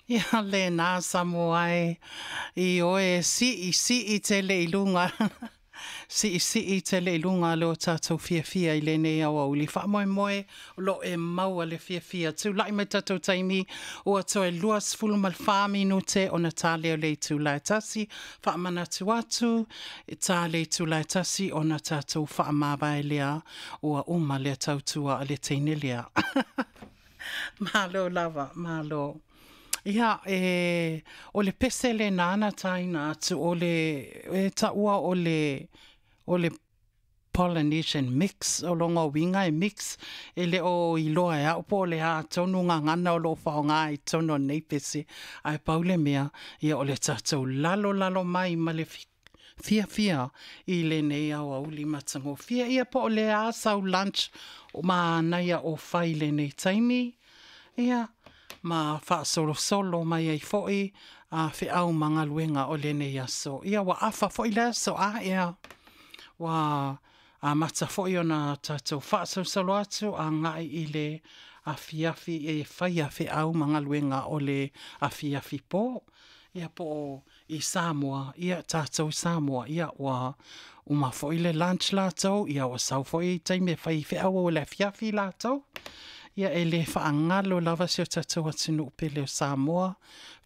Ia lena Samoa e, i oe e siisii tele i luga, siisii tele i luga lo tatou fiafia i lenei aoauli. Faamoemoe o lo o e maua le fiafia. Tulai mai tatou taimi, ua toe 24 minute ona ta lea o le itula e 1. Faamanatu atu, e ta le itula e 1 ona tatou faamavae lea, ua uma lea tautua a le teine lea. Malo lava, malo. Ia, e, o le pese lena na taina atu, o le, e taua o le, o le Polynesian mix, o lona uiga e mix, e le o iloa e au po o le a tonu gagana o lo o faaaoga i totonu o lenei pese, ae pau le mea, ia o le tatou lalolalo mai ma le fiafia i lenei aoauli matagofie. Ia po o le a sau lunch manaia o fai i lenei taimi, ia, ma faasolosolo mai ai foi a feau ma galuega o lenei aso. Ia ua afa foi le aso a ea, ua amata foi ona tatou faasolosolo atu agai i le afiafi e faia feau ma galuega o le afiafi po. Ia po o i Samoa, ia tatou i Samoa, ia ua uma foi le lunch latou, ia ua sau foi taimi e fai feau o le afiafi latou. Ia e le faagalo lava si o tatou atunuu pele o Samoa,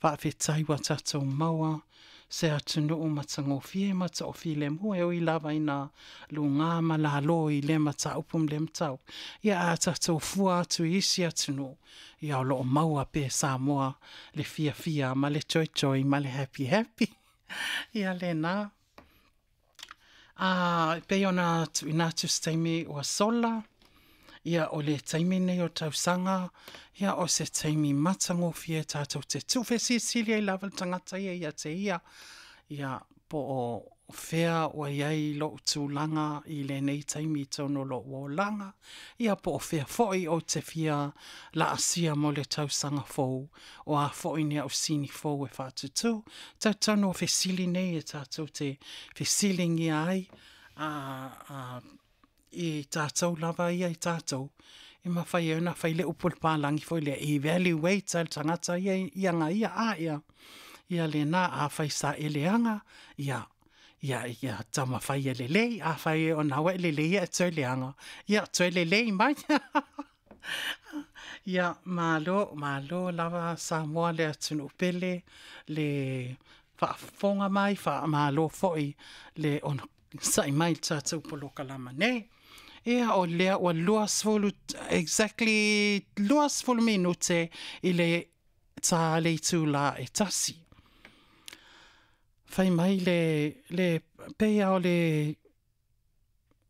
faafetai ua tatou maua se atunuu matagofie ma toafilemu, e ui lava ina luga ma lalo i lea mataupu ma lea mataupu. Ia a tatou fua atu i isi atunuu, ia o lo o maua pea e Samoa le fiafia ma le joy joy ma le happy happy. Ia lena. A, e pei ona tuuina atu se taimi ua sola, ia o le taimi lenei o le tausaga, ia o se taimi matagofie tatou te tuufesilisili ai lava le tagata ia ia te ia, ia po o fea ua i ai lou tulaga i lenei taimi i totonu o lou olaga, ia po o fea foi ou te fia laasia mo le tausaga fou, o a foi ni au sini fou e faatutū. Talitonu o fesili nei e tatou te fesiligia ai i tatou lava ia i tatou, e mafai ai ona fai le upu a le palagi foi lea, evaluate lava e le tagata ia i aga ia, a ia, ia lena, afai sa e leaga, ia, ia, ia taumafai e lelei, afai o lena ua e lelei ae toe leaga, ia toe lelei mai. Ia, malo, malo lava Samoa le atunuu pele, le faafofoga mai, faamalo foi le onosai mai i le tatou polokalama nei. Ia, o lea ua 20, exactly 20 minute i le ta le itula e 1. Fai mai le, le pei lava o le,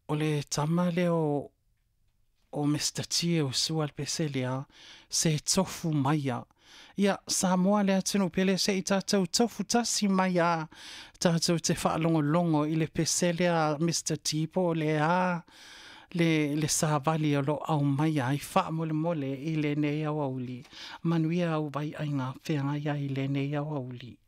o le tama lea o, o Mister T e usua le pese lea, se tofu maia. Ia, Samoa le atunuu pele, se i tatou tofu tasi mai a tatou te faalogologo i le pese lea a Mister T po o le a le, le savali o lo o aumaia ai faamolemole i lenei aoauli. Manuia au vaiaiga feagai ai i lenei aoauli.